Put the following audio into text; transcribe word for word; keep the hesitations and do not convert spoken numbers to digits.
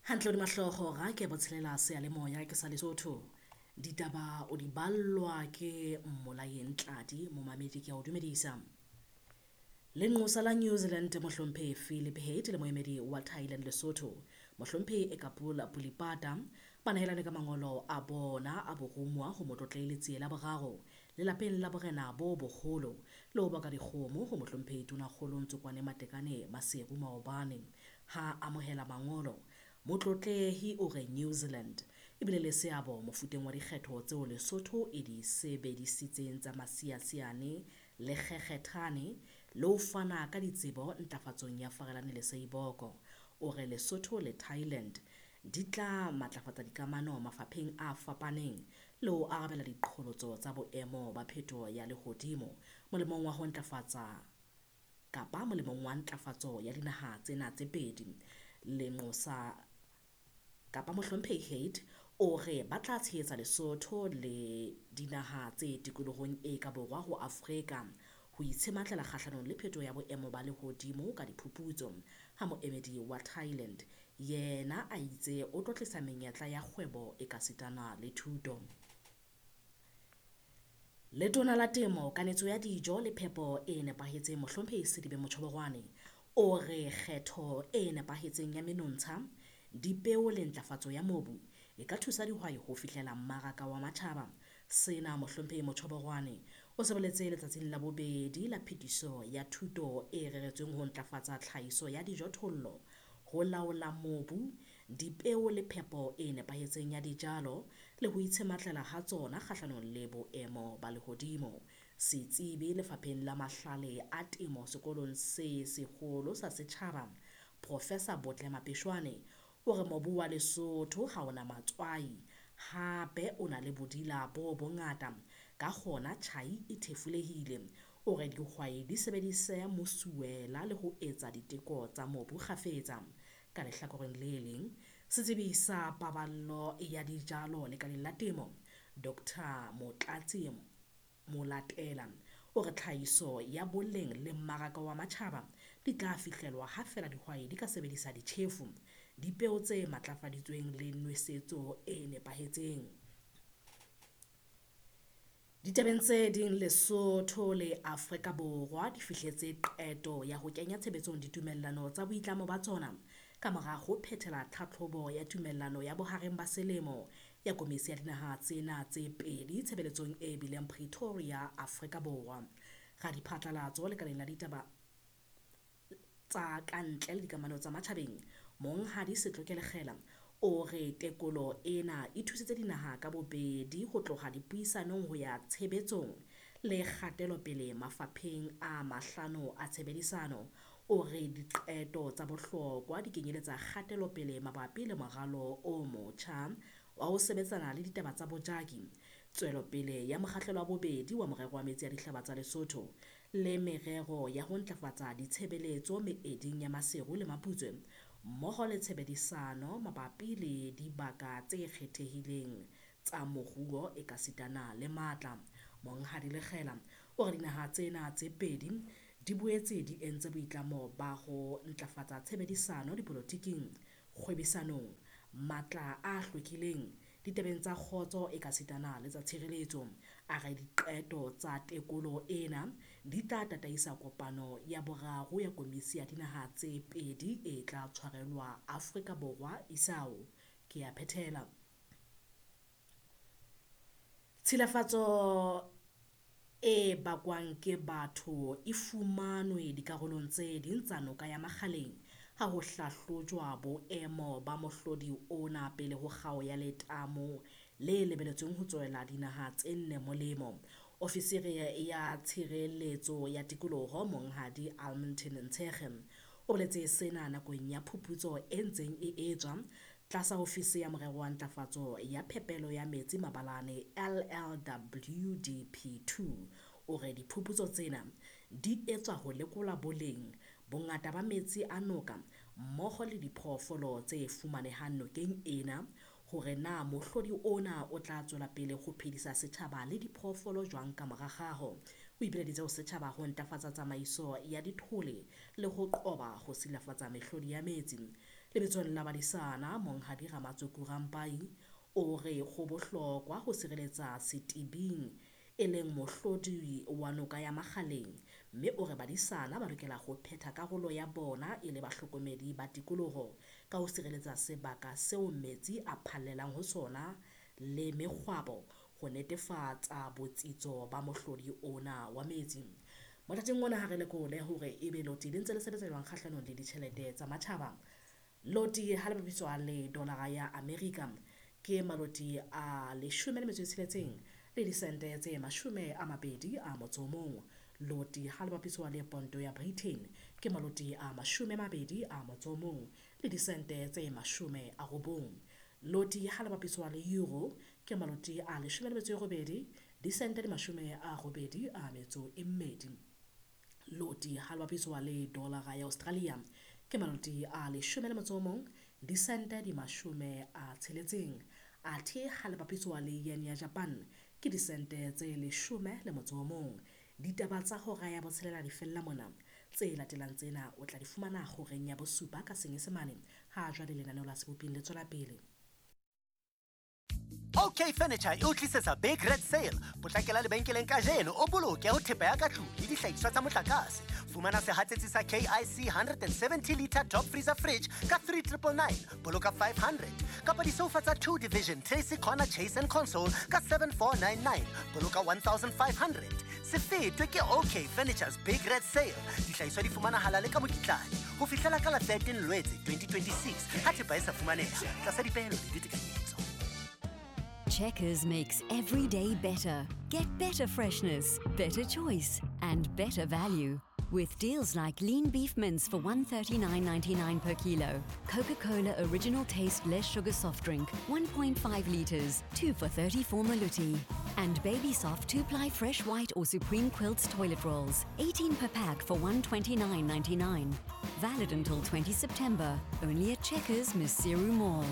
Hantle hodima hlooho ra ke botshelela seyalemoya ke sa Lesotho. Ditaba o di ballwa ke Mmolayeng Tladi, momamedi ke a o dumedisa. Lenqosa la New Zealand Mohlomphehi Philip Head le moemedi wa Thailand Lesotho Mohlomphehi Ekapol Pulipata ba nehelane ka mangolo a bona a borumuwa ho Motlotlehi Letsie la Boraro lelapeng la borena bo boholo le ho baka dikgomo ho Mohlomphehi Tonakgolo Ntsokoane Matekane Maseru maobane. Ha amohela mangolo, Motlotlehi o re New Zealand ebile le seabo mofuteng wa dikgetho tseo Lesotho e di sebedisitseng tsa masiasiane le kgekgethane le ho fana ka ditsebo ntlafatsong ya Farelane le Seiboko. O re Lesotho le Thailand di tla matlafatsa dikamano mafapheng a fapaneng le ho arabela diqholotso tsa boemo ba phetoho ya lehodimo molemong wa ho ntlafatsa kapa molemong wa ntlafatso ya dinaha tsena tse pedi. Lenqosa kapa Mohlomphehi Head o re ba tla tshehetsa Lesotho le dinaha tse tikolohong e ka borwa ho Afrika ho itshematlela kgahlanong le phetoho ya boemo ba lehodimo ka diphuputso. Ha moemedi wa Thailand yena a itse o tlo tlisa menyetla ya kgwebo e ka sitana le thuto. Letona la Temo, Kanetso ya Dijo le Phepo e Nepahetseng Mohlomphehi Selibe Mochoboroane o re kgetho e nepahetseng ya menontsha, dipeo le ntlafatso ya mobu e ka thusa dihwai ho fihlela mmaraka wa matjhaba. Sena Mohlomphehi Mochoboroane o se boletse letsatsing la bobedi la phetiso ya thuto e reretsweng ho ntlafatsa tlhahiso ya dijothollo, ho laola mobu, dipeo le phepo e nepahetseng ya dijalo le ho itshematlela ha tsona kgahlanong le boemo ba lehodimo. Setsebi lefapheng la mahlale a temo sekolong se seholo sa setjhaba, Professor Botle Mapeshwane o re mobu wa Lesotho ha ona matswai, hape o na le bodila bo bongata, ka hona tjhai e thefulehile. O re dihwai di sebedise mosuwela le ho etsa diteko tsa mobu kgafetsa. Ka lehlakoreng le leng, setsebi sa paballo ya dijalo lekaleng la temo, Doctor Motlatsi Molatela o re tlhahiso ya boleng le mmaraka wa matjhaba di tla fihlellwa ha feela dihwai di ka sebedisa ditjhefo, dipeo tse matlafaditsweng le nwesetso e nepahetseng. Ditabeng tse ding, Lesotho le Afrika Borwa di fihletse qeto ya ho kenya tshebetsong ditumellano tsa boitlamo ba tsona ka mora ho phethela tlhatlhobo ya tumellano ya bohareng ba selemo ya komisi ya dinaha tsena tse pedi tshebeletsong e bileng Pretoria, Afrika Borwa. Radiphatlalatso lekaleng la ditaba tsa kantle le dikamano tsa matjhabeng, Monghadi Setlokele Kgela o re tekolo ena e thusitse dinaha ka bobedi ho tloha dipuisanong ho ya tshebetsong le kgatelopele mafapheng a mahlano a tshebedisano. O re diqeto tsa bohlokwa di kenyeletsa kgatelopele mabapi le moralo o motjha wa ho sebetsana le ditaba tsa bojaki, tswelopele ya mokgahlelo wa bobedi wa morero wa metsi a dihlaba tsa Lesotho le merero ya ho ntlafatsa ditshebeletso meeding ya Maseru le Maputswe mmoho le tshebedisano mabapi le dibaka tse kgethehileng tsa moruo ekasitana le matla. Monghadi Lekgela o re dinaha tsena tse pedi di boetse di entse boitlamo ba ho ntlafatsa tshebedisano dipolotiking, kgwebisanong, matla a hlwekileng, ditabeng tsa kgotso ekasitana le tsa tshireletso. A re diqeto tsa tekolo ena di tla tataisa kopano ya boraro ya komisi ya dinaha tse pedi e tla tshwarelwa Afrika Borwa isao. Ke a phethela. Tshilafatso e bakwang ke batho e fumanwe dikarolong tse ding tsa noka ya Makgaleng ha ho hlahlojwa boemo ba mohlodi ona pele ho kgao ya letamo le lebeletsweng ho tswela dinaha tse nne molemo. Ofisiri ya Tshireletso ya Tikoloho Monghadi Albertine Ntshekge o boletse sena nakong ya phuputso e ntseng e etswa tlasa ofisi ya morero wa ntlafatso ya phepelo ya metsi mabalane L L W D P two. O re diphuputso tsena di etswa ho lekola boleng, bongata ba metsi a noka mmoho le diphoofolo tse fumanehang nokeng ena hore na mohlodi ona o tla tswela pele ho phedisa setjhaba le diphoofolo jwang ka mora kgaho. O ipileditse ho setjhaba ho ntlafatsa tsamaiso ya dithole le ho qoba ho silafatsa mehlodi ya metsi. Lebitsong la badisana Monghadi Ramatsoku Rampai o re ho bohlokwa ho sireletsa setibing e leng mohlodi wa noka ya Makgaleng, mme o re badisana ba lokela ho phetha karolo ya bona e le bahlokomedi ba tikoloho ka ho sireletsa sebaka seo metsi a phallelang ho sona le mekgwabo ho netefatsa botsitso ba mohlodi ona wa metsi. Mothating ona ha re lekole hore ebe loti le ntse le sebetsa jwang kgahlanong le ditjhelete tsa matjhaba. Loti ha le bapiswa le dolara ya Amerika ke maloti a leshome le metso e tsheletseng le disente tse mashome a mabedi a motso o mong. Loti ha le bapiswa le ponto ya Britain ke maloti a mashome a mabedi a motso o mong le disente tse mashome a robong. Loti ha le bapiswa le euro ke maloti a leshome le metso e robedi disente di mashome a robedi a metso e mmedi. Loti ha le bapiswa le dollara ya Australia ke maloti a leshome le motso o mong disente di mashome a tsheletseng. Athe ha le bapiswa le yen ya Japan ke disente tse leshome le motso o mong. Ditaba tsa hora ya botshelela di fella mona. Tse latelang tsena o tla di fumana horeng ya bosupa ka Senyesemane. Ha jwale lenaneo la Seboping le tswela pele. OK Furniture e o tlisetsa Big Red Sale. Potlakela lebenkeleng kajeno o boloke ho thepa ya ka tlung le dihlahiswa tsa motlakase. Fumana sehatsetsi sa K I C one hundred seventy liter top freezer fridge ka three triple nine, boloka five hundred. Kapa disofa tsa two division Tracy Corner Chase and Console ka seven four nine nine, boloka one thousand five hundred. Se fetwe ke OK Furniture's Big Red Sale. Dihlahiswa di fumanahala le ka mokitlane ho fihlela ka la thirteen Lwetse twenty twenty-six. Ha thepa e sa fumaneha tlasa dipehelo le ditekanyetso. Checkers makes every day better. Get better freshness, better choice, and better value. With deals like lean beef mince for one thirty-nine ninety-nine per kilo, Coca-Cola original taste less sugar soft drink, one point five litres, two for thirty-four maluti. And Baby Soft two-ply fresh white or Supreme Quilts toilet rolls, eighteen per pack for one twenty-nine ninety-nine. Valid until twenty September, only at Checkers Maseru Mall.